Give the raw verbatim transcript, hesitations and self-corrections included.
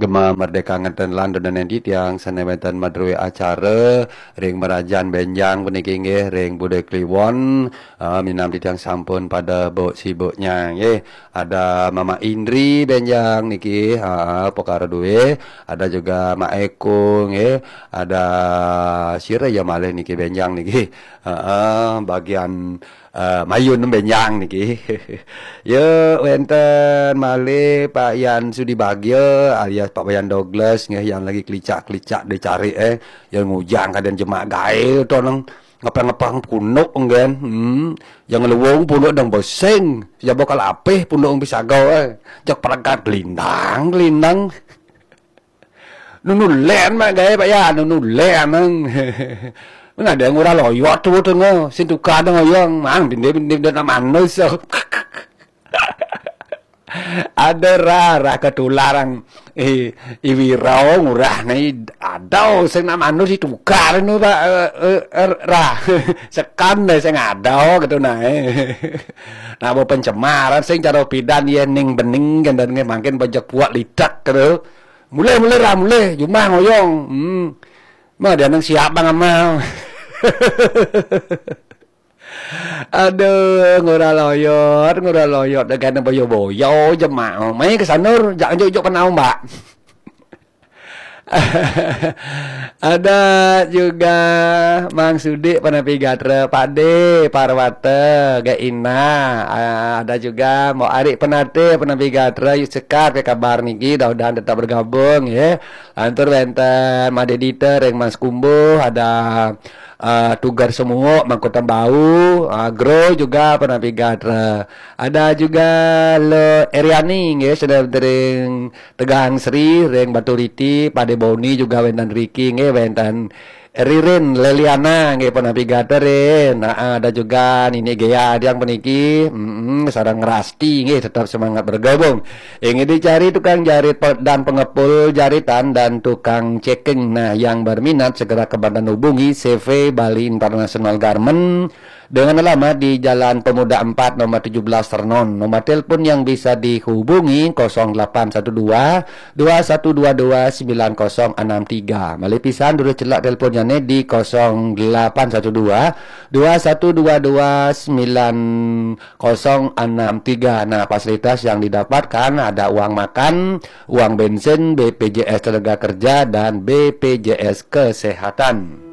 Gema Merdeka ngenten lan dodonen titiang sane wenten madrue acara ring merajan benjang puniki nggih ring Bude Kliwon, eh, minam titiang sampun pada buk sibuknya nggih. Ada Mama Indri benjang niki, ha, pekara due, ada juga Mak Eko nggih, ada sira ya malih niki benjang niki. Heeh, bagian eh, Mayun benjang niki. Ya, wenten malih Pak Yan Sudi Bagya alias Pak Wayan Douglas nggih yang lagi kelicak-kelicak dicari eh. Yang ngujang kadang jemak gae to nang ngepeng-ngepeng punduk ngen. Hmm. Yang luwung punduk dang beseng. Ya bakal apeh punduk bisa gae. Jak pelekat gelindang, gelindang. Nunu len mak gae Pak ya, nunu len nang. Mana ada yang ngurah loyot tu tengah, sin tukar deng oyong, mang dinde dinde dende manus. Ada rah, rah ketularang. Eh, iwirau ngurah nih, ada sing nak manus ditukar nu Pak, eh, eh, eh, rah. Sekan deh sing ada gitu nah. Eh. Nah, mau pencemaran sing cara pidan ya ning bening kan dan makin banyak buat lidak gitu. Mulai, mulai rah, mulai. Jumah ngoyong. Hmm. Mah dia nang siap bang amal. Aduh, ngurah loyot, ngurah loyot. Dah kena boyo-boyo jemak. Mai ke sanur, jak juk-juk kenal mbak. Ada juga Mang Sudik Panapi Gatra, Pade Parwata, Gaina, ah, ada juga Mbok Arik Penate Panapi Gatra, yuk sekar ke kabar niki, mudah-mudahan tetap bergabung ya. Lantur wenten Made Dita ring Mas Kumbuh, ada eh, Tugar Semuuk, Mangkutan Bau, ah, Gro juga Panapi Gatra. Ada juga Le Eriani nggih, sudah ring Tegang Sri, ring Baturiti, Pade Boni juga wenten Riki nggih, wenten Ririn Leliana nggih Panapi Gatra Rin. Nah, ada juga Nini Gea yang peniki, mm, sareng Rasti nggih tetap semangat bergabung. Ingin dicari tukang jarit pe- dan pengepul jaritan dan tukang ceking. Nah, yang berminat segera ke Banten hubungi C V Bali International Garment dengan alamat di Jalan Pemuda empat nomor tujuh belas Renon. Nomor telepon yang bisa dihubungi kosong delapan satu dua, dua satu dua dua, sembilan kosong enam tiga. Malih pisan durus celak teleponnya nih di kosong delapan satu dua, dua satu dua dua, sembilan kosong enam tiga. Nah, fasilitas yang didapatkan ada uang makan, uang bensin, B P J S Tenaga Kerja, dan B P J S Kesehatan.